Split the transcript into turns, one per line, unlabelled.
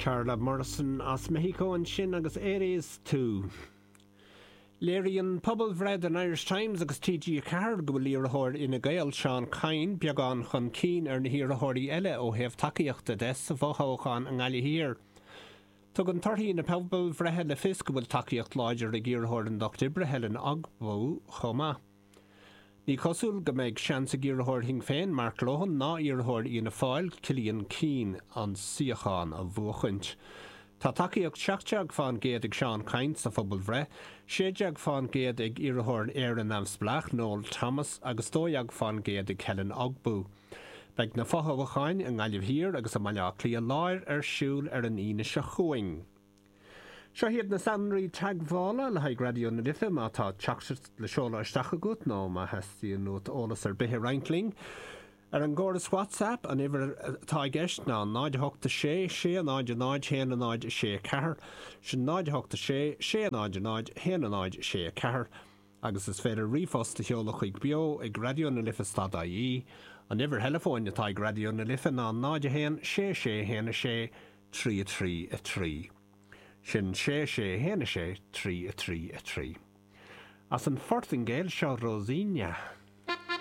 Carla Morrison as Meicsiceo ansin agus Eres Tú. Léiríonn pobalbhreith don Irish Times agus TG4 go bhfuil iarrthóir Fhine Gael, Seán Kyne, beagán chun cinn ar na hiarrthóirí eile ó thaobh tacaíochta de sa bhfothoghchán i nGaillimh Thiar. Tugann torthaí na pobalbhreithe le fios go bhfuil tacaíocht láidir ag iarrthóir an Lucht Oibre, Helen Ogbu, chomh maith. Ní cosúil go mbeidh seans ag iarrthóir Shinn Féin, Mark Lohan, ná iarrthóir Fhianna Fáil, Cillian Keane, an suíochán a bhuachaint. Tá tacaíocht 17% ag Seán Kyne sa phobalbhreith, 16% ag iarrthóir Éire Neamhspleách, Noel Thomas, agus 12% ag Helen Ogbu. Beidh na fothoghcháin i nGaillimh Thiar agus i mBaile Átha Cliath Láir ar siúl ar an Aoine seo chugainn. Seo iad na sonraí teagmhála le haghaidh Raidió na Life má tá teachtaireacht le seoladh isteach agat nó má theastaíonn uait eolas ar bith a roinnt linn. Ar an gcóras WhatsApp, an uimhir atá i gceist ná 0 8 6 6 0 0 1 0 6 4, sin 0 8 6 6 0 0 1 0 6 4, agus is féidir ríomhphost a sheoladh chuig beo ag raidió na life stad ie. An uimhir theileafóin atá ag Raidió na Life ná 0 1 6 6 1 6 3 3 3. Sin 6 6 1 6 3 3 3. As an Phortaingéil, seo Rosinha.